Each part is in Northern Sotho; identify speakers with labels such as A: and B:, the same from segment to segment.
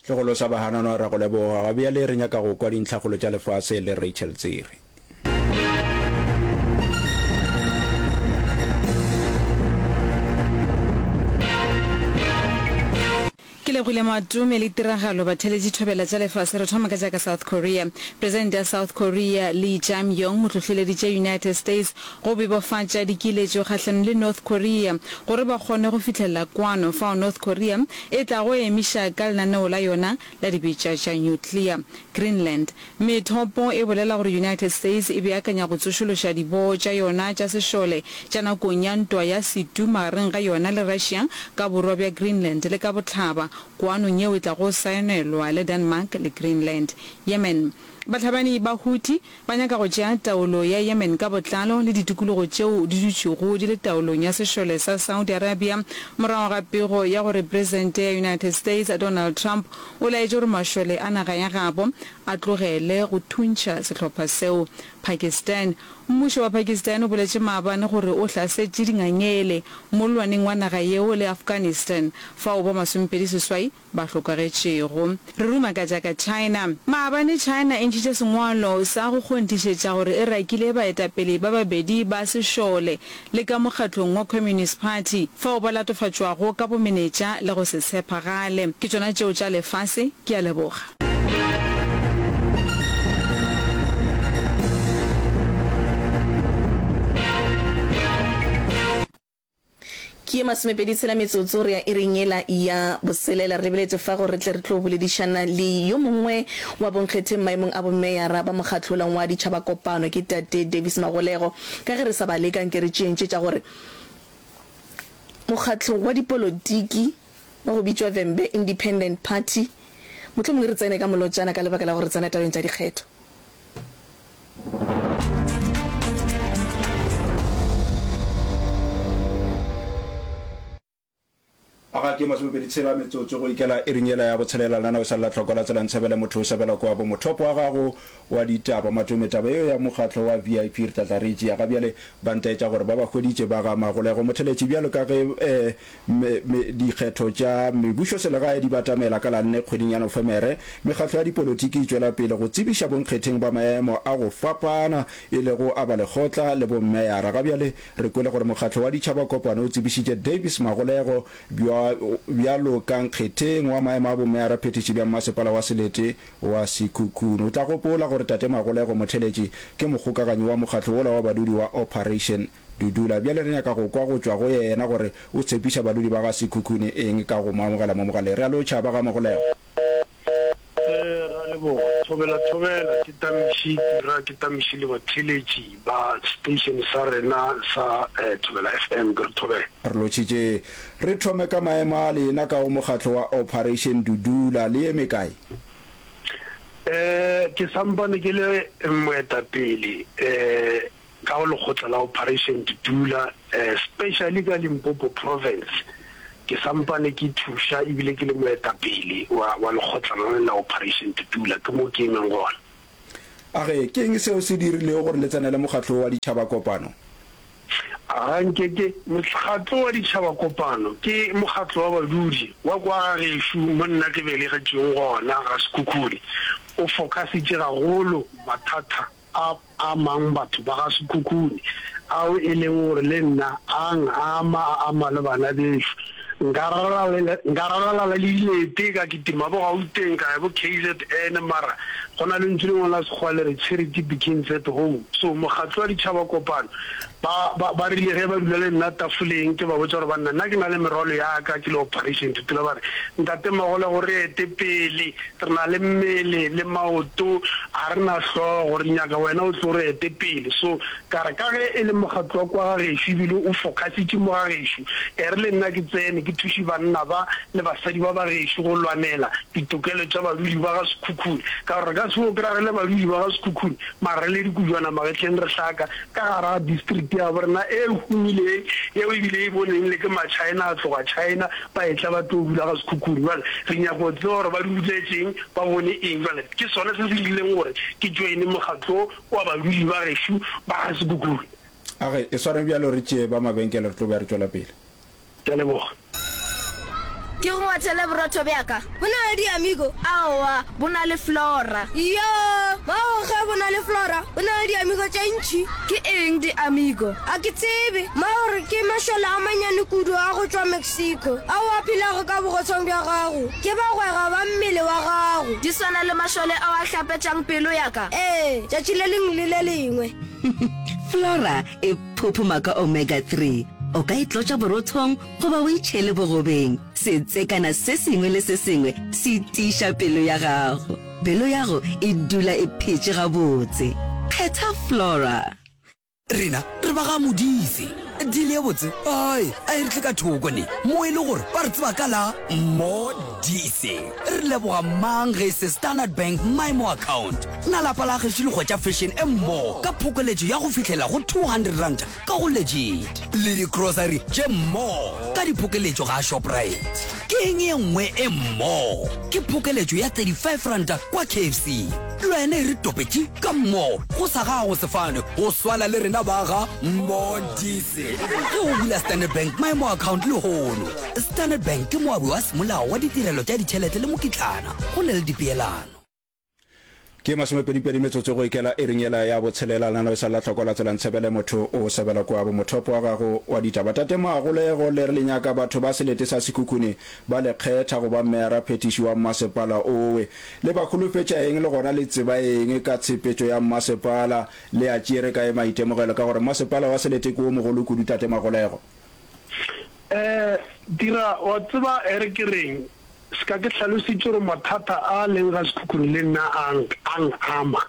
A: Tlogolo sa Bahananwa ra go leboga. Ga bjale re nyaka go kwa dintlhakgolo tša lefase le Rachel Tsiri.
B: Ke lebogile Matome le tiragalo batheeletši thobela tša lefase re thoma ka tša ka South Korea. Presidente ya South Korea Lee Jae-myung o hlohleleditše United States go bebofatša dikiletšo kgahlanong le North Korea gore ba kgone go fihlelela kwano fao North Korea e tlago emiša ka lenaneo la yona la dibetša tša nuclear. Greenland Methopo e bolela gore United States e beakanya go tsošološa diboo tša yona tša sešole tša nakong ya ntwa ya setu magareng ga yona le Russia ka borwa bja Greenland le ka bohlaba, kwanong yeo e tlago saenelwa le Denmark le Greenland. Yemen Bahlabani ba Houthi ba nyaka go tšea taolo ya Yemen ka botlalo le ditikologo tšeo di dutšego di le taolong ya sešole sa Saudi Arabia morago ga pego ya gore Presidente ya United States Donald Trump O laetše gore mašole a naga ya gabo a tlogele go thuntšha sehlopha seo. Pakistan, Mmušo wa Pakistan o boletše maabane gore o hlasetše dingangele mollwaneng wa naga yeo le Afghanistan fao ba masomepedi seswai ba hlokagetšego. Re ruma ka tša ka China. Maabane China e ntšhitše sengwalo sa go kgonthišetša gore e rakile baetapele ba babedi ba sešole le ka mokgatlong wa Communist Party, fao ba latofatšwago ka bomenetša le go se tshepagale. Ke tšona tšeo tša lefase. Ke a leboga.
C: Ke ye masomepedi tshela metsotso re ya iring yela ya boselela. Re lebeletše fa gore re tle re tlo boledišana le yo mongwe wa bonkgetheng maemong a bomeyara ba mokgatlo wa ditšhabakopano, ke Tate Davis Magolego. Ka ge re sa ba leka, nke re tšeeng tše tša gore mokgatlo wa dipolotiki wa go bitšwa Vhembe Independent Party, mohlomongwe re tsene ka molotšana ka lebaka la gore re tsena tabeng tša dikgetho.
A: A ga ke masomepedi tshela metsotso go ikela iring yela ya botshelela lena o sa lla tlhoko la tsela ntshebele motho o sebela kwa bo mothopo wa gago wa ditaba matome taba yeo ya mokgatlo wa VIP re tla tla re e tšea ga bjale ba ntaetša gore ba ba hweditše ba ga Magolego Motheletši bjalo ka ge eh, me, me, dikgetho tša mebušoselegae di batamela ka la nne kgweding ya Nofemere mekgatlo ya dipolotiki e tšwela pele go tsebiša bonkgetheng ba maemo a go fapana e lego a balekgotla le bommeyara ga bjale Re kwele gore mokgatlo wa Ditšhaba Kopano o tsebišitše Davis Magolego bjalo ka nkgetheng wa maemo a bomeyara phethiši bja mmasepala wa selete wa Sekhukhune. O tla gopola gore Tate Magolego Motheletši ke mokgokaganyi wa mokgatlo wola wa badudi wa Operation Dudula. Bjale re nyaka go kwa go tšwa go yena gore o tshepiša badudi ba ga Sekhukhune eng ka go mo amogela mo mogaleng. Re a lotšha ba ga Magolego.
D: Ee, ra leboga. Thobela thobela, ke Tamiši Tira, ke Tamiši le batheeletši ba station sa rena sa Thobela FM, ke re thobela.
A: Re lotšhitše. Re thome ka maemo a lena ka go mokgatlo wa Operation Dudula, le eme kae?
D: Ee, ke sampane ke le moetapele ee. Ka go lekgotla la Operation Dudula, especially ka Limpopo Province, ke sampane ke thuša ebile ke le moetapele wa, wa lekgotla lona le la Operation Dudula, ke mo ke emeng gona.
A: A re, Ke eng seo se dirilego gore le tsenele mokgatlo wo wa ditšhaba-kopano?
D: A ga nke ke. Mokgatlo wa ditšhaba-kopano ke mokgatlo wa badudi wa kwa ga gešo mo nna ke belegetšweng gona, ga Sekhukhune. O focusitše gagolo mathata a amang batho ba ga Sekhukhune, ao e leng gore le nna a ngama, a ama le bana bešo. Nka ralala, nka ralala le dilete, ka kitima bo Gauteng, ka ya bo KZN, mara go na le ntšu lengwe la Sekgowa le re charity begins at home. So mokgatlo wa Ditšhaba Kopano ba, ba, ba rile ge ba dula le nna tafoleng, ke ba botša gore banna nna ke na le merwalo ya ka, ke le Operation Dudula, ba re, Ntate Magolego re ete pele, Re na le mmele le maoto, ga re na hlogo, re nyaka wena o tlo re ete pele. So, ka re ka ge e le mokgatlo wa kwa ga gešo ebile o focusitše mo ga gešo, e re le nna ke tsene ke thuše banna ba le basadi ba ba gešo go lwanela ditokelo tša badudi ba ga Sekhukhune. Ka gore re ka se fo kry-a re le badudi ba ga Sekhukhune mara re le dikujwana magetleng re hlaka ka gare ga district ya bo rena e humileng yeo ebile e boneng le ke ma-China a tloga China ba etla ba tlo dula ga Sekhukhune. Bjale re nyaka go tseba gore ba duletšeng, ba bone eng. Bjale ke sona se se dirileng gore ke joine mokgatlo wa badudi ba gešo ba ga Sekhukhune.
A: A re e swareng bjalo re tšee ba mabenkele re tlo be re tšwela pele.
D: Ke a leboga.
E: Ke go ngwathele borotho bja ka. Bo na le di-amigo? Aowa, bo na le Flora. Iyoo! Mago ge bo na le Flora, bo na le di-amigo tše ntši. Ke eng di-amigo? A ke tsebe. Mago re ke mašole a manyane kudu a go tšwa Mexico ao a phelago ka bogotsong bja gago. Ke bagwera ba mmele wa gago. Di swana le mašole ao a hlapetšang pelo ya ka? Ee, tšatši le lengwe le le lengwe.
F: Flora e phophoma ka omega 3. O ka e tlotša borothong goba o e tšhele bogobeng. Setsekana se sengwe le se sengwe se tiiša pelo ya gago. Pelo yago e dula e phetše gabotse. Kgetha Flora.
G: Rena re ba ga Modise. Deal ye botse ai a e re tle ka thoko ne mo e le gore ba re tseba ka la Modise. Re leboga mang ge e se Standard Bank MyMo account. Na lapa la gešo le hwetša fashion e mmo ka phokoletšo ya go fihlela go R200 ka go Legit le di-grocery tše mmo ka diphokeletšo ga Shoprite. Ke eng ye nngwe e mmo? Ke phokeletšo ya R35 kwa KFC. Le wena e re topetše ka mmo go sa gago sefane go swana le rena ba ga Modise. Ge o bula Standard Bank Maemo Account lehono. Standard Bank ke moabi wa semolao wa ditirelo tša ditšhelete le mokitlana go na le dipeelano.
A: Ke masomepedipedi metsotso go ikela iring yela ya botshelela, lenaneo e sa la hloko la tsela ntshebele motho o sebela kwa bo mothopo wa gago wa ditaba. Tate Magolego le re le nyaka batho ba selete sa Sekhukhune ba le kgetha go ba meyara phethiši wa mmasepala owe. Le ba holofetša eng le gona le tseba eng ka tshepetšo ya mmasepala? Le a tšere kae maitemogelo ka gore mmasepala wa selete ke wo mogolo kudu Tate Magolego?
D: Eh dira wa tseba ere ke reng Ska ke hlalositše gore mathata a a leng ga Sekhukhune le nna a a ng-ama.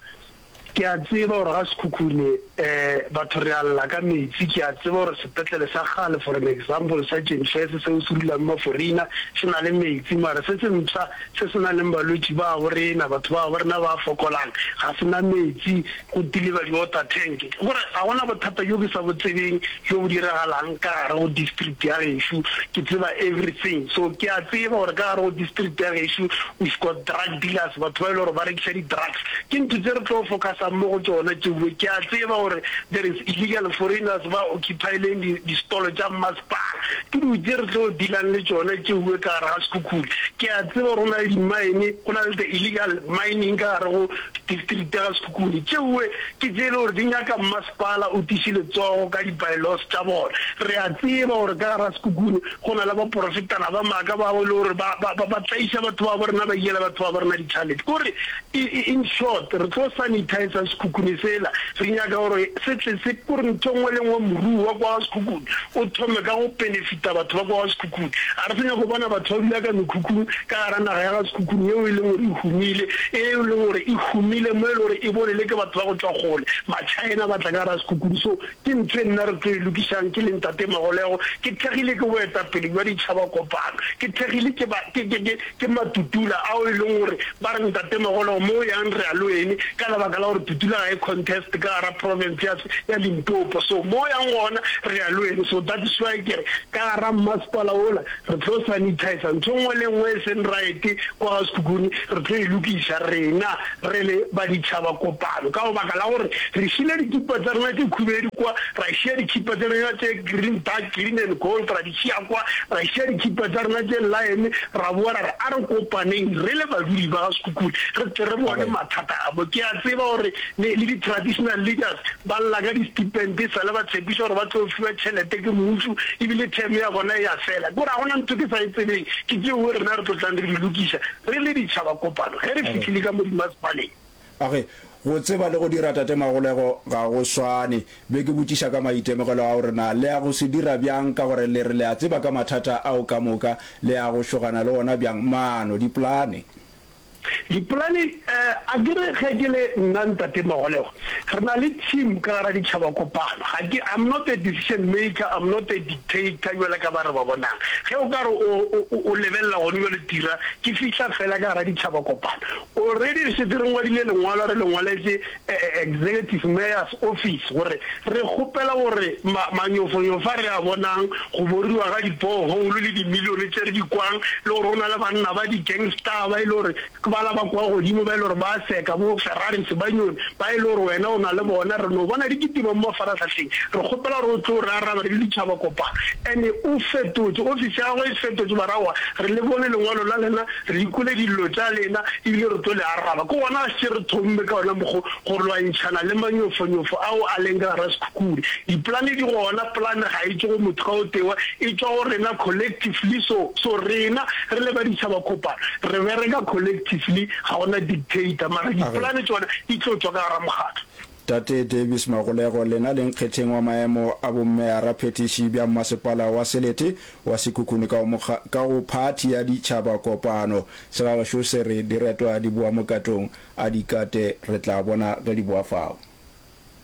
D: Ke a tseba gore ga Sekhukhune um batho re a lla ka metsi, ke a tseba gore sepetlele sa kgale for an example sa Jenfes seo se dulang Maforina se na le metsi mara se se mpsha se se nang le balwetši ba bo rena, batho ba bo rena ba fokolang ga se na metsi, go deliver di-water tank. Ke gore ga gona bothata bjo ke sa bo tsebeng bjo bo diragalang ka gare go district ya gešo, ke tseba everything. So ke a tseba gore ka gare go district ya gešo we've got drug dealers, batho ba e le gore ba rekiša di-drugs. Ke ntho tse re tlo focusang mo go tšona tšeue. Ke a tseba gore there is illegal foreigners ba occupy-ileng di-stall tša mmasepala. Ke dilo tše re tlo dealang le tšona tšeue ka gare ga Sekhukhune. Ke a tseba gore go na le di-mine, go na le the illegal mining ka gare go district ya ga Sekhukhune. Tšeoe ke tše e le gore di nyaka mmasepala o tiše letsogo ka di-by-laws tša bona. Re a tseba gore ka gara Sekhukhune go na le baporofetana ba maaka bao e le gore ba, ba, ba, ba tlaiša batho ba bo rena, ba iela batho ba bo rena ditšhalete. Ke gore in short, re tlo sanitizer Sekhukhune sela. Re nyaka gore se tle se, ke gore ntho e nngwe le nngwe moruo wa kwa ga Sekhukhune o thome ka go benefita batho ba kwa ga Sekhukhune. Ga re sa nyaka go bona batho ba dula ka mekhukhung ka gara naga ya ga Sekhukhune yeo e leng gore e humile, e e leng gore e humile mo e le gore e bone le ke batho ba go tšwa kgole, ma-China ba tla ka gara Sekhukhune. So ke ntho e nna re tlo e lokišang ke le Ntate Magolego, ke thekgile ke boetapele bja ditšhaba kopano, ke thekgile ke ba, ke, ke, ke, ke Matutula ao e leng gore ba re Ntate Magolego mo o yang re ya le wene ka lebaka la gore Tutula ga e contest ka gara province ya, ya Limpopo. So mo o yang gona re ya le wene. So that is why ke re ka gara mmasepala wola Re tlo sanitizer ntho nngwe le nngwe e seng right kwa ga Sekhukhune, re tlo e lokiša rena re le ba ditšhaba kopano ka baka la gore re šile dikipa tša rena tše khubedu kwa, ra šia dikhipa tša rena tše green, dark green and gold ra di šia kwa, ra šia dikhipa tša rena tše lime, ra boa ra re a re kopaneng re le badudi ba ga Sekhukhune re tle re bone mathata a mo. Ke a tseba gore le le di-traditional leaders ba lla ka di-stipend e sale ba tshepiša gore ba tlo fiwa tšhelete ke mmušo ebile term ya bona e a fela. Ke gore ga gona ntho ke sa e tsebeng, ke tšeo rena re tlo tlang re di lokiša re le ditšhaba kopano ge re fihlile ka mo dimasepaleng.
A: A re, Go tseba le go dira Tate Magolego ga go swane. Be ke botšiša ka maitemogelo ao re na le ya go se dira bjang ka gore le re le a tseba ka mathata ao ka moka, le ya go šogana le ona bjang? Maano, dipolane.
D: Dipolane, A ke re ge ke le nna Ntate Magolego, re na le team ka gara ditšhaba kopano. Ga ke, I'm not a decision maker, I'm not a dictator bjalo ka ba re ba bonang. Ge o ka re o, o, o lebelela gone bjalo Tira, ke fihla fela ka gara ditšhaba kopano. Already re šetše re ngwadile lengwalo re le ngwaletše Executive Mayor's Office gore re kgopela gore ma, manyofonyofo a re a bonang, go boriwa ga di-borehole le dimilione tše re di kwang, le gore go na le banna ba di-gangster ba e le gore ke ba. bala ba kwa godimo ba e le gore ba a seka, bo Ferraris, Banyoni, ba e le gore wena o na le bona, re no bona di kitima mo mafarahlahleng. Re kgopela gore o tlo re araba re le ditšhaba kopano. And o fetotše, ofisi ya gagwe e fetotše, ba re aowa, re le bone lengwalo la lena, re di kwele dillo tša lena, ebile re tlo le araba. Ke gona šetše re thomme ka ona mokgo go lwantšhana le manyofonyofo ao a leng ka gara Sekhukhune. Dipolane di gona, polane ga e tšwe go motho ka o tewa, e tšwa go rena collectively, so, so rena re le ba ditšhaba kopano re bereka collectively, ga gona dictator, mara dipolane tšona di tlo tšwa ka gara mokgatlo.
A: Tate Davis Magolego, lena le nkgetheng wa maemo a bommeyara phethiši bja mmasepala wa selete wa Sekhukhune ka go ka go phathi ya ditšhaba kopano. Segagešo se re diretwa di boa mokatong, a di kate re tla bona ge di boa fao.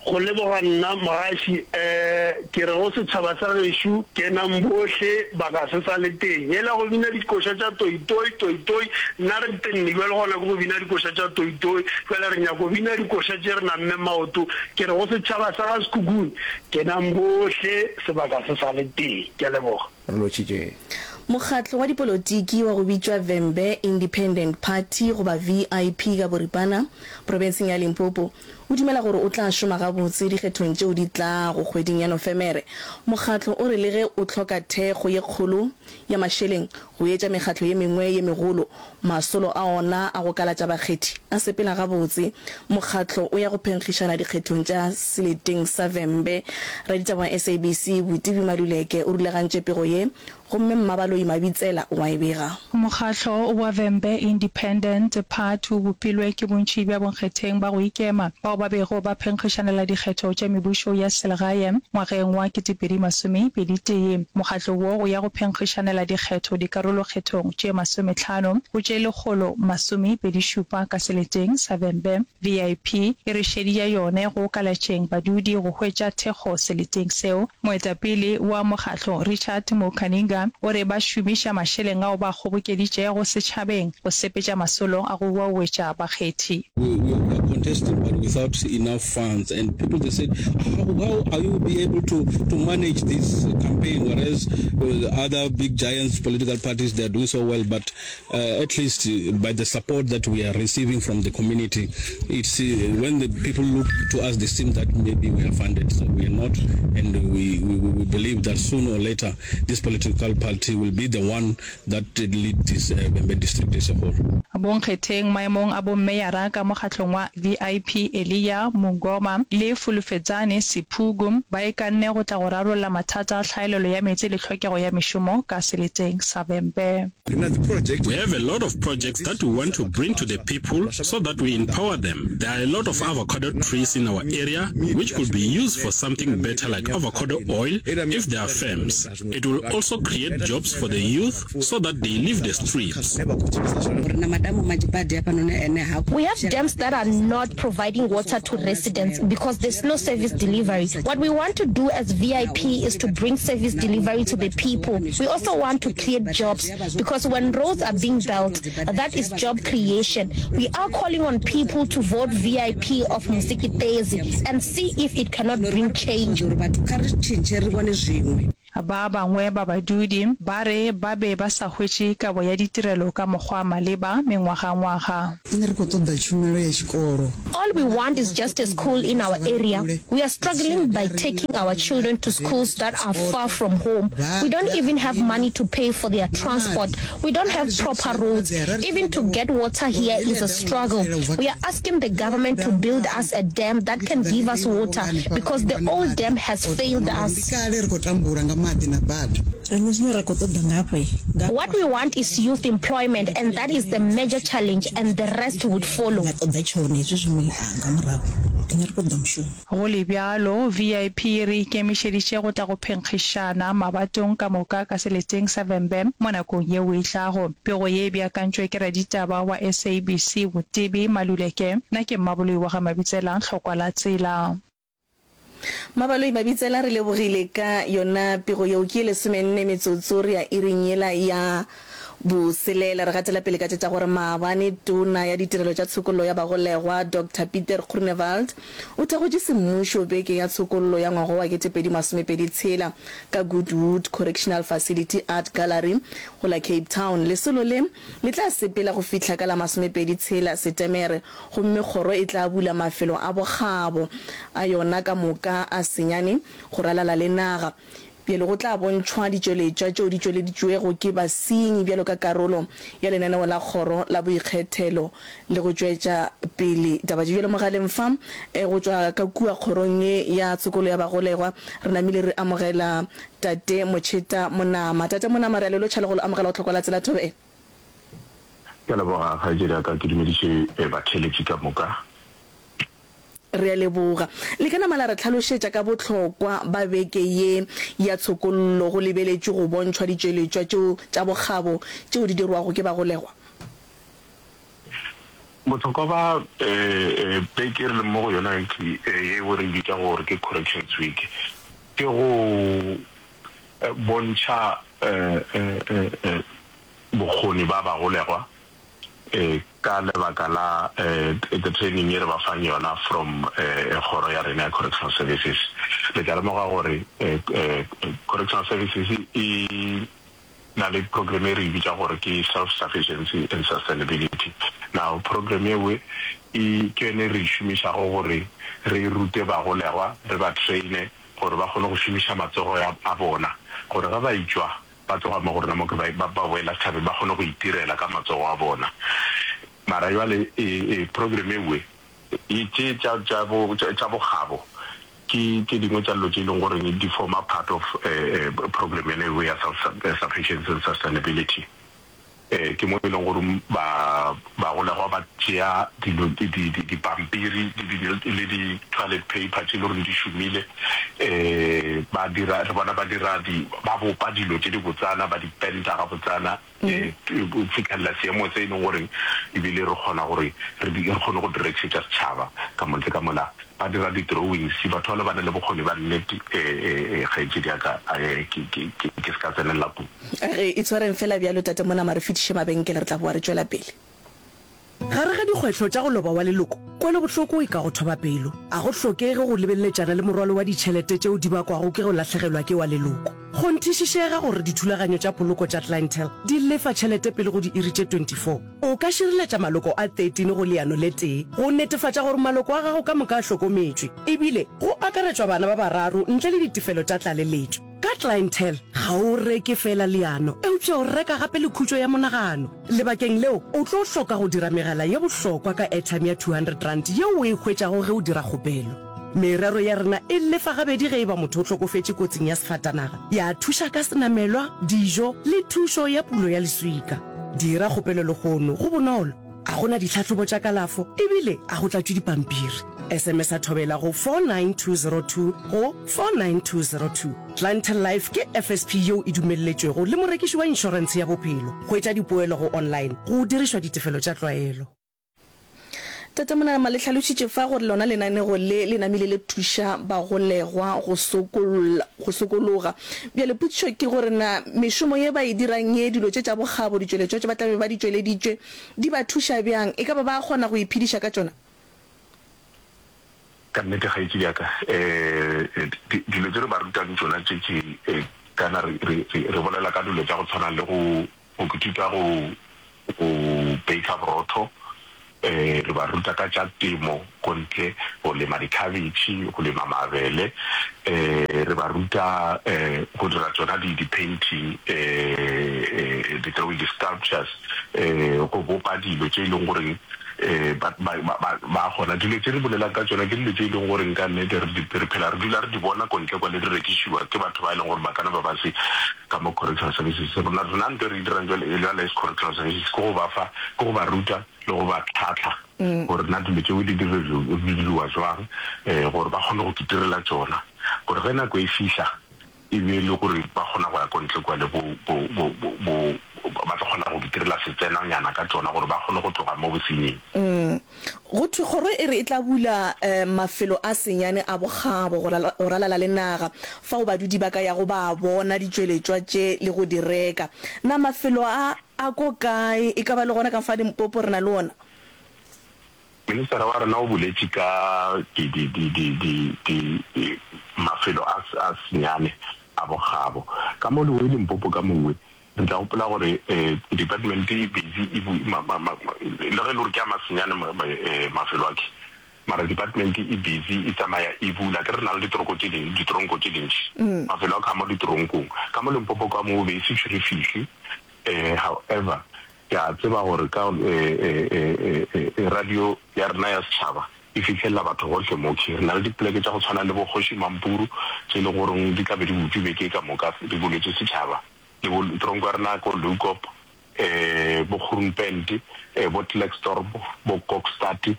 D: Go leboga nna mogaši eh ke re go setšhaba sa gešo kenang bohle baka se sa le teng yela go bina dikoša tša toitoi toitoi nna re tenne bjale gona ke go bina dikoša tša toitoi bjale re nyako bina dikoša tše re namme maoto ke re go setšhaba sa ga Sekhukhune kenang bohle sebaka se sa le teng ke a leboga.
A: Re lotšhitše.
C: Mokgatlo wa dipolotiki wa go bitšwa Vhembe Independent Party goba VIP ka boripana, profenseng ya Limpopo, o dumela gore o tla šoma gabotse dikgethong tšeo di tlago kgweding ya Nofemere. Mokgatlo o re le ge o hloka thekgo ye kgolo ya mašeleng go etša mekgatlo ye mengwe ye megolo, masolo a ona a go kalatša bakgethi a sepela gabotse. Mokgatlo o ya go phenkgišana dikgethong tša seleteng sa Vhembe. Raditaba wa SABC, Botibi Maluleke o rulagantše pego ye Gomme Mmabaloi Mabitsela o a e bega.
H: Mokgatlo wa Vhembe Independent Party o bopilwe ke bontši bja bonkgetheng ba go ikema bao ba bego ba phenkgišanela dikgetho tša mebušo ya selegae ngwageng wa 2021. Mokgatlo wo o ya go phenkgišanela dikgetho dikarolokgethong tše masomehlano go tše 127 ka seleteng sa Vhembe. VIP e re šedi ya yone go kalatšeng badudi go hwetša thekgo seleteng seo. Moetapele wa mokgatlo Richard Mukaninga o re ba šomiša mašeleng ao ba a kgobokeditšego setšhabeng go sepetša masolo a go uauetša bakgethi.
I: We, we are contesting but without enough funds and people they said how, how are you be able to, to manage this campaign whereas uh, other big giants political parties they are doing so well but Uh, at least uh, by the support that we are receiving from the community, it's uh, when the people look to us, they seem that maybe we are funded. So we are not, and we, we, we believe that sooner or later, this political party will be the one that lead this uh, Vhembe district as a whole.
H: Bonkgetheng maemong a bommeyara ka mokgahlong wa VIP Elia Mungoma le Fulufhedzani Siphugu ba ikanne go tla go rarolla mathata a tlhaelelo ya meetse le tlhokego ya mešomo ka seleteng sa Vhembe.
J: We have a lot of projects that we want to bring to the people so that we empower them. There are a lot of avocado trees in our area which could be used for something better like avocado oil if there are firms. It will also create jobs for the youth so that they leave the streets.
K: We have dams that are not providing water to residents because there's no service delivery. What we want to do as VIP is to bring service delivery to the people. We also want to create jobs because when roads are being built, that is job creation. We are calling on people to vote VIP of Musikitezi and see if it cannot bring change.
H: Ba bangwe ba badudi ba re ba be ba sa hwetše kabo ya ditirelo ka mokgwa wa maleba mengwagangwaga.
L: Nṋe ri khou ṱoḓa tshumelo ya tshikolo.
K: All we want is just a school in our area. We are struggling by taking our children to schools that are far from home. We don't even have money to pay for their transport. We don't have proper roads. Even to get water here is a struggle. We are asking the government to build us a dam that can give us water because the old dam has failed us.
L: Ndi kale ri khou tambula nga maḓi na bada.
M: Riṋe zwine ra khou ṱoḓa nga hafha, nga
K: What we want is youth employment and that is the major challenge and the rest would follow.
M: Nga ṱoḓa tshone hezwi zwiṅwe nga murahu. Riṋe ri khou ṱoḓa mushumo.
H: Go le bjalo, VIP re ikemišeditše go tla go phenkgišana mabatong ka moka ka seleteng sa Vhembe mo nakong yeo e tlago. Pego ye e beakantšwe ke raditaba wa SABC Botebi Maluleke. Nna ke Mmaboloi wa ga Mabitsela, Hlokwa la Tsela.
C: Mabaloi Mabitsela re lebogile ka yona pego yeo. Ke ye lesomenne metsotso re ya iring yela ya. Boselela. Re gatela pele ka tše tša gore maabane Tona ya Ditirelo tša Tshokollo ya Bagolegwa Doctor Pieter Groenewald o thakgotše semmušo beke ya tshokollo ya ngwaga wa 2026 ka Goodwood Correctional Facility Art Gallery go la Cape Town. Lesolo le le tla sepela go fihla ka la 26 Setemere gomme kgoro e tla bula mafelo a bokgabo a yona ka moka a senyane go ralala le naga. Bjale go tla bontšhwa ditšweletšwa tšeo di tšweleditšwego ke basenyi bjalo ka karolo ya lenaneo la kgoro la boikgethelo le go tšwetša pele taba tše. Bjale mogaleng fa go tšwa ka kua kgorong ye ya tshokolo ya bagolegwa re namile re amogela Tate Motšheta Monama. Tate Monama, re a le lotšha le go le amogela go Tlhokwa la Tsela Thobela.
N: Ke a leboga kgaetšedi ya ka, ke dumediše batheeletši ka moka.
C: Re a leboga. Le ka nama la re hlalošetša ka bohlokwa ba beke ye ya tshokollo go lebeletšwe go bontšhwa ditšweletšwa tšeo tša bokgabo tšeo di dirwago ke bagolegwa?
N: Bohlokwa ba beke e re leng mo go yona yeo re e bitšago gore ke Corrections Week ke go bontšha bokgoni ba bagolegwa Ka lebaka la the training ye re ba fang yona from kgoro ya rena ya Correctional Services. Le tla lemoga gore Correctional Services e na le program e re e bitša gore ke Self-Sufficiency and Sustainability. Now program yeo e ke yone e re e šomišago gore re rute bagolegwa, re ba traine gore ba kgone go šomiša matsogo a bona gore ge ba etšwa Ba tloga mo go rena mo ke ba, ba, ba boela setšhabeng, ba kgone go itirela ka matsogo a bona. Mara bjale e, e program ewe, e, tše tša, tša bo, tša, tša bokgabo ke tše dingwe tša dilo tše e leng gore di forma part of eh, eh, program yona ewe ya self sufficiency and sustainability. Eh, ke mo e leng gore ba, bagolegwa ba tšea dilo, di, di, di, dipampiri le di, le di toilet paper tše e le gore di šomile, eh, ba dira, re bona ba dira di, ba bopa dilo tše di botsana, ba di penta gabotsana, eh, go fihlelela seemo se e leng gore ebile re kgona gore re di, re kgone go di rekišetša setšhaba ka mo ntle ka mola. Ba dira di drawings, batho bale ba na le bokgoni ba nnete, eh, eh, kgaetšedi ya ka, eh, ke, ke, ke, ke se ka tsenelela kudu.
C: Re itshwareng fela bjalo, Tate Monama, re fetiše mabenkele, re tla boa re tšwela pele.
O: Gare ga dikgwehlo tša go loba wa leloko, kwelobohloko e ka go thoba pelo. A go hlokege go lebeleletšana le morwalo wa ditšhelete tšeo di bakwago ke go lahlegelwa ke wa leloko. Kgonthišišega gore dithulaganyo tša poloko tša Clientele di lefa tšhelete pele go diiri tše 24. O ka šireletša maloko a 13 go leano le tee go netefatša gore maloko a gago ka moka a hlokometšwe, ebile go akaretšwa bana ba bararo ntle le ditefelo tša tlaleletšo. Ka Clientele, ga o reke feela leano, eupša o reka gape le khutšo ya monagano. Lebakeng leo, o tlo hloka go dira megala ye bohlokwa ka airtime ya R200 yeo o e hwetšago ge o dira kgopelo. Merero ya rena e lefa gabedi ge e ba motho o hlokofetše kotsing ya sefatanaga, ya thuša ka senamelwa, dijo le thušo ya pulo ya leswika. Dira kgopelo lehono, go bonolo. A go na ditlhahlobo tša kalafo ebile a go tlatšwe dipampiri. SMS-a Thobela go 49202 go 49202. Clientele Life ke FSP yeo e dumelletšwego le morekiši wa inšorentshe ya bophelo. Hwetša dipoelo go online go dirišwa ditefelo tša tlwaelo.
C: Tate Monama le hlalošitše fa gore lona lenanego le le namile le thuša bagolegwa go sokolla, go sokologa. Bjale potšišo ke gore na mešomo ye ba e dirang ye, dilo tše tša bokgabo, ditšweletšwa tše ba tla be ba di tšweleditšwe, di ba thuša bjang? E ka ba ba kgona go iphediša ka tšona?
N: Ka nnete kgaetšedi ya ka, um dilo tše re ba rutang tšona tše ke kana re, re, re bolela ka dilo tša go tshwana le go, go ithuta go, go baker borotho, um re ba ruta ka tša temo ko ntle, go lema dikhabetšhe, go lema mabele, um re ba ruta um go dira tšona di, di-painting, um di-drawing, di-sculptures, um go bopa dilo tše e leng goreng um ba, ba, ba, ba, ba kgona. Dilo tše re bolelang ka tšona ke dilo tše e leng goreng ka nnete re di, re phela re dula re di bona ko ntle kwa le di rekišiwa ke batho ba e leng gore ba kana ba ba se ka mo correctional services. Rona, rena nto e re e dirang jwale, jwale as correctional services ke go ba fa, ke go ba ruta le go ba tlhahla gore na dilo tšeo di di diriwa jwang, um gore ba kgone go itirela tšona, gore ge nako e fihla e be e le gore ba kgona go ya ko ntle kua le bo, bo, bo, bo, bo, ba tlo kgona go itirela setsenanyana ka tšona gore ba kgone go tloga mo bosenying.
C: Go thwe kgoro e re e tla bula mafelo a senyane a bokgabo go go ralala le naga fao badudi ba ka yago ba bona ditšweletšwa tše le go di reka. Na mafelo a. A ko kae? E ka ba le gona ka fa Limpopo re na le ona?
N: Ministara wa rena o boletše ka di, di, di, di, di, di, di mafelo a, a senyane a bokgabo. Ka mo Lewe Limpopo ka mowe, re tla gopola gore department e busy e bu, ma, ma, ma, le ge e le gore ke a masenyane ma, ma, mafelo a ke, mara department e busy e tsamaya e bula. Ke re na le ditoroko tše ding, ditronko tše dintši, mafelo a ka mo ditoronkong. Ka mo Limpopo ka mo be e se tšwe re fihle. However, ke a tseba gore ka radio ya rena ya setšhaba e fihlelela batho gohle mo. Re na le dipoleke tša go tshwana le bo Kgoši Mampuru tše e le goreng di tla be di butšwe beke ka moka di buletšwe setšhaba, le bo tronko ya rena ko Leeuwkop, bo Groenpunt, bo Klerksdorp, bo Kokstad,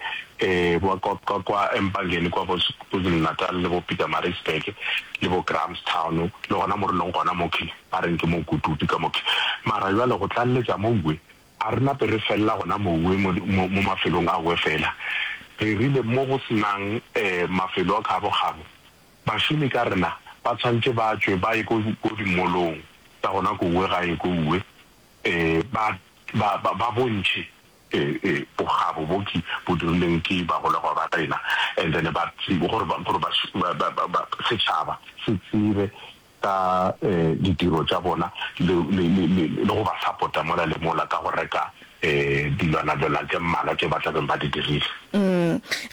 N: bo kwa kwa kwa Empangeni kwa bo KwaZulu-Natal le bo Pietermaritzburg le bo Grahamstown le gona mo re leng gona mo Ba reng ke mo kutupi ka mo. Mara bjale go tlaleletša mowe, a re nape re felela gona mowe mo, mo, mo mafelong awe fela. Re rile mo go se nang mafelo a kgabokgabo, bašomi ka rena ba tshwanetše ba tšwe ba ye ko, ko dimolong tsa gona kowe gae kowe, ba, ba, ba, ba bontšhe bokgabo bo ke bo dirileng ke bagolegwa ba rena, and then ba tsebe, gore ba, gore ba, ba, ba, ba, setšhaba se tsebe ka ditiro tša bona le, le, le, le, le go ba sapota mola le mola ka go reka dilwanalwana tše mmalwa tše ba tla beng ba di dirile.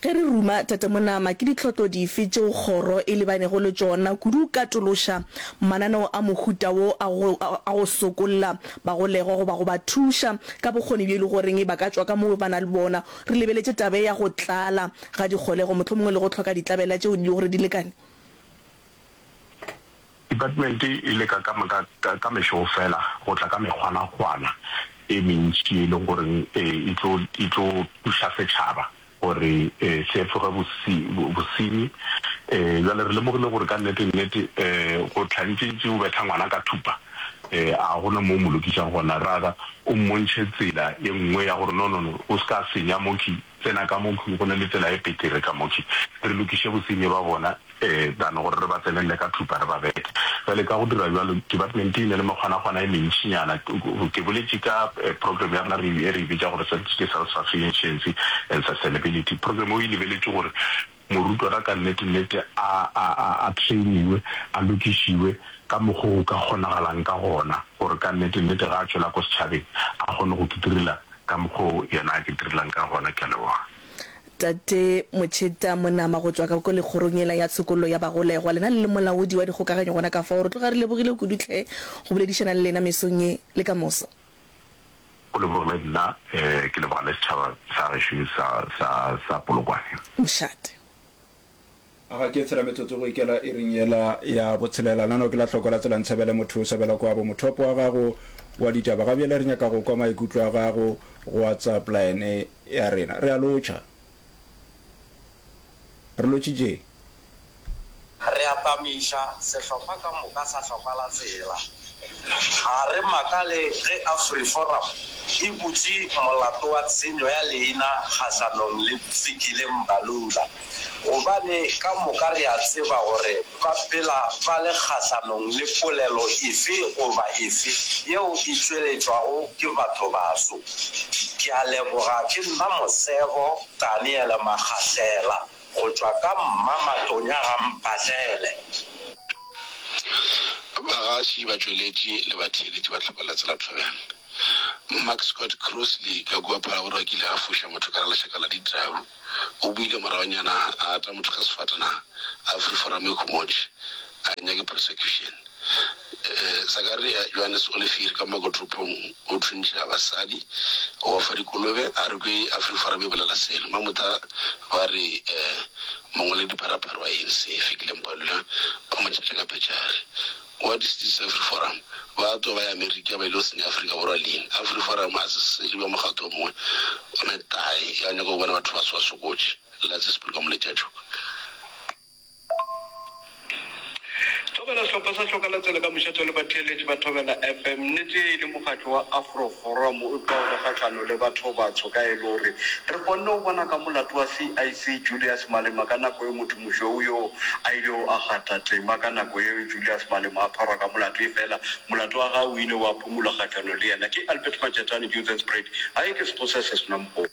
C: Ge re ruma, Tate Monama, ke ditlhotlo dife tšeo kgoro e lebanego le tšona kudu go katološa mananeo a mohuta wo a go, a go sokolla bagolegwa goba go ba thuša ka bokgoni bjo e le goreng ba ka tšwa ka moo ba na le bona, re lebeletše taba ye ya go tlala ga dikgolego mohlomongwe le go hloka ditlabela tšeo di le gore di lekane?
N: Department e leka ka ka ka mešo fela go tla ka mekgwanakgwana e mentši e leng goreng e tlo e tlo thuša setšhaba gore se efoge bosenyi. Bjale re lemogile gore ka nnete nnete go hlantšentše o betha ngwana ka thupa a gona mo o mo lokišang gona, rather o mmontšhe tsela e nngwe ya gore no no no o se ka senya mokhwi, tsena ka mokhwi go na le tsela e petere ka mokhwi re lokiše bosenyi ba bona. Than gore re ba tsenelele ka thupa re ba bethe. Bjale ka go dira bjalo, department e na le mekgwanakgwana e mentšinyana. Ke boletše ka program ya rena re e re e bitša gore ke self-sufficiency and sustainability. Program eo e lebeletše gore morutwana ka nnete-nnete a, a, a, a trainiwe, a lokišiwe ka mokgo go ka kgonagalang ka gona gore ka nnete-nnete ge a tšwela ko setšhabeng a kgone go kitirela ka mokgo yena a kitirelang ka gona. Ke a leboga.
C: Tate Motšheta Monama go tšwa ka ko lekgorong yela ya tshokollo ya bagolegwa, lena le le molaodi wa dikgokaganyo gona ka fao, re tloga re lebogile kudu hle go boledišana le lena mesong ye le ka moso.
N: Go lebogile nna, ke leboga le setšhaba sa gešo sa, sa, sa Polokwane.
C: Mošate.
A: A ga ke tshela metsotso go ikela iring yela ya botshelela? Nano ke la hloko la tsela ntshebele motho o sebela kwabo mothopo wa gago wa ditaba. Ga bjale re nyaka go kwa maikutlo a gago go WhatsApp line ya rena. Re a lotšha. Re lotšitše.
P: Re atamiša sehlopha ka moka sa Hlokwa la Tsela. Ga re makale ge AfriForum e butše molato wa tshenyo ya leina kgahlanong le Fikile Mbalula gobane ka moka re a tseba gore ba phela ba le kgahlanong le polelo efe goba efe yeo e tšweletšwago ke bathobaso. Ke a leboga ke nna Mosebo Daniel Makgahlela. Go tšwa ka Mma Matonya ga Mphahlele.
Q: Bagaši, batšweletši le batheeletši ba Tlhoko la Tsela Thobela. Mark Scott Crossley ka kua Phalaborwa a kile a foša motho ka lešaka la ditau. O boile moragonyana a ata motho ka sefatanaga. AfriForum e khumotše a nyake prosecution. Sakaria Johannes Olivier ka Makotoropong o thuntšha basadi, o ba fa dikolobe, a re kwe AfriForum e bolela selo. Mamotha ba re mongwaledipharapara wa ANC Fikile Mbalula ba mo tšhatša ka petšare. What is this AfriForum? Ba twa ba ya Amerika ba ile go senya Afrika Borwa leina. AfriForum a se selo ba mokgatlo o mongwe wa metae ya go nyaka go bona batho baso ba sokotše. Latse Sepuluka Moletšatšhoka.
R: Thobela Sehlopha sa Hloka la Tsela ka mošate le batheeletši ba Thobela FM. Nnete e le mokgatlo wa Afro Forum o tloga o le. kgahlano le bathobatsho ka e le gore re kgonne go bona ka molato wa CIC Julius Malema ka nako yeo motho mošweu yoo a ilego a kgatha tema ka nako yeo Julius Malema a pharwa ka molato efela molato wa gagwe o ile wa phumulwa kgahlano le yena ke Albert Majatane Johannesburg Gae ke Sekgosa se sena mokgobo.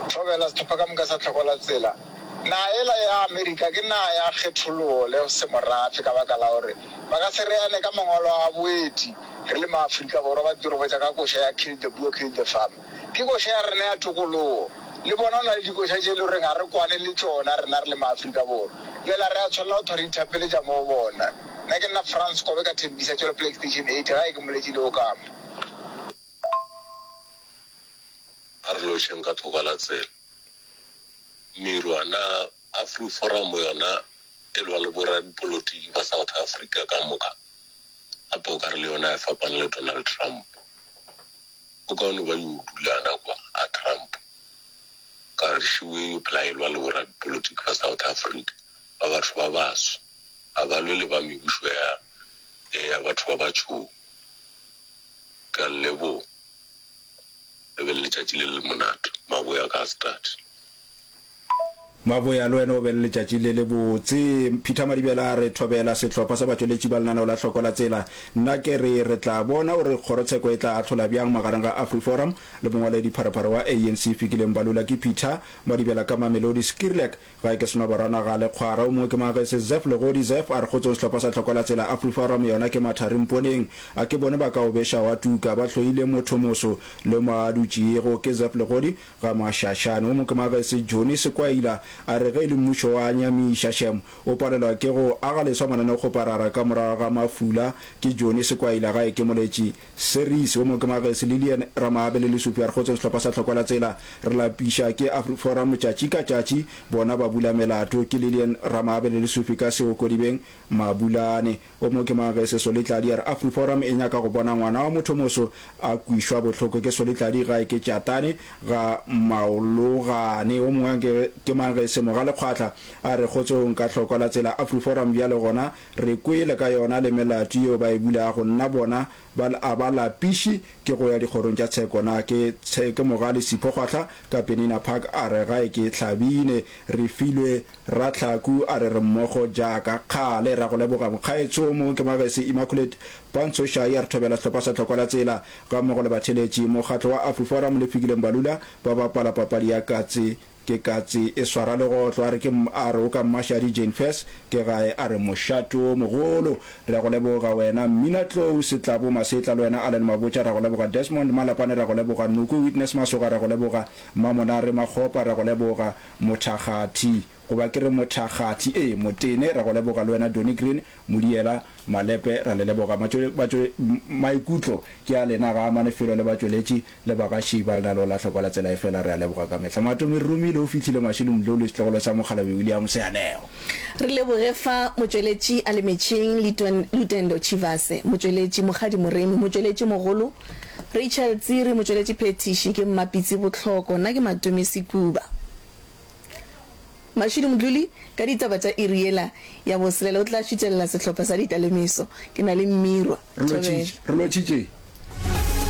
S: Thobela sehlopha ka moka sa Tlhoko la Tsela. Naga yela ya Amerika ke naga ya kgethologo le semorafe ka baka la gore ba ka se reane ka mangwalo a boeti re le maAfrika Borwa ba tiro botša ka koša ya Kill the Boer, Kill the Farmer. Ke koša ya rena ya tokologo. Le bona go na le dikoša tše e le goreng ga re kwane le tšona rena re le maAfrika Borwa. Bjale ga re a tshwanela go thwa re ithapeletša mo go bona. Nna ke nna Frans Kobe ka Thembisa Tšwelopele Extension 80 gae ke Moletši Leokama.
T: A re lotšheng ka thoko la tsela. Mirwa, na AfriForum yona e lwa le boradipolotiki ba South Africa ka moka? Gape o ka re le yona e fapane le Donald Trump. Go kaone ba yo dulana kwa a Trump. Ka re šiwe yo phela e lwa le boradipolotiki ba South Africa ba batho ba baso. Ga ba lwe le ba mebušo ya ya batho ba batšhou. Ke a le leboga. Le be le letšatši le le monate. Maboya ka start.
A: Maboya, le wena o be le letšatši le lebotse. Peter Madibela a re, Thobela, sehlopha sa batšweletši ba lenaneo la Hloko la Tsela. Nna ke re, re tla bona gore kgorotsheko e tla ahlola bjang magareng ga AfriForum le mongwaledi pharephare wa ANC Fikile Mbalula. Ke Peter Madibela ka Mamelodi Skierlik. Gae ke Senoborwana ga Lekgwara. O mongwe ke Magese Zeph Legodi Zeph a re kgotsong sehlopha sa Hloko la Tsela AfriForum yona ke mathari mponeng. A ke bone ba ka o beša wa tuka. Ba hloile mothomoso le mo a dutšego. Ke Zeph Legodi ga Mašašane. O mongwe ke Magese Johnny Sekwaila a re ge e le mmušo wa nyamiša shem o palelwa ke go aga leswa mananeokgoparara ka morago ga mafula. Ke Johnny Sekwaila gae ke Moletši Series. O mongwe ke Magese Lilian Ramaabe le Lesupi a re kgotsong sehlopha sa Hlokwa la Tsela re lapiša ke AfriForum tšatši ka tšatši bona ba bula melato. Ke Lilian Ramaabe le Lesupi ka Seokodibeng Mabulane. O mongwe ke Magese Solitladi a re AfriForum e nyaka go bona ngwana wa mothomoso a kwišwa bohloko ke Solitladi gae ke Tšatane ga Maologane. O mongwe ke Magese Mogale Kgwahla a re kgotsong ka Hlokwa la Tsela AfriForum bjale gona Re kwele ka yona le melato yeo ba e bulago, nna bona ba a ba lapiše ke go ya dikgorong tša tsheko. Na ke ke Mogale Sipho Kgwahla ka Penina Park a re gae ke Hlabine. Re filwe Ratlhaku a re re mmogo jaaka kgale. Ra go leboga mokgaetsho. O mongwe ke Magese Immaculate Pantsho Shai a re thobela sehlopha sa Tlhokwa la Tsela gammogo le batheeletši. Mokgatlo wa AfriForum le Fikile Mbalula ba bapala papadi ya katse Ke katse e swara legotlo, a re ke, a re o ka Mmashadi Jane Furse, ke gae, a re mošate o mogolo. Re a go leboga wena Mmina Tlou, Setlabo Masetla, le wena Allen Mabotja, re a go leboga Desmond Malapane, re a go leboga Noko Witness Masoga, re a go leboga Mmamonare Makgopa, re a go leboga Mothakgathi, goba ke re Mothakgathi, ee, Motene, re a go leboga le wena Donny Green, Modiela Malepe, ra le leboga. Matšo, batšo, maikutlo ke a lena, ga a amane felo le batšweletši le bagaši ba lenaneo la Hlokwa la Tsela efela re a leboga ka mehla. Matome Romile o fihlile Mashilo Mdluli setlogolo sa Mokgalabje William Seanego.
C: Re leboge fa motšweletši a le metšheng Lutendo Tshivhase, motšweletši Mokgadi Moremi, motšweletši mogolo Rachel Tsiri, motšweletši phethiši ke Mmapitsi Bohloko, nna ke Matome Sekuba. Mashudu Mdluli ka ditaba tša iri yela ya boselela o tla šutelela sehlopha sa Ditalemiso. Ke na le Mmirwa.
A: Re
C: Thobela.
A: lotšhitše. Re lotšhitše.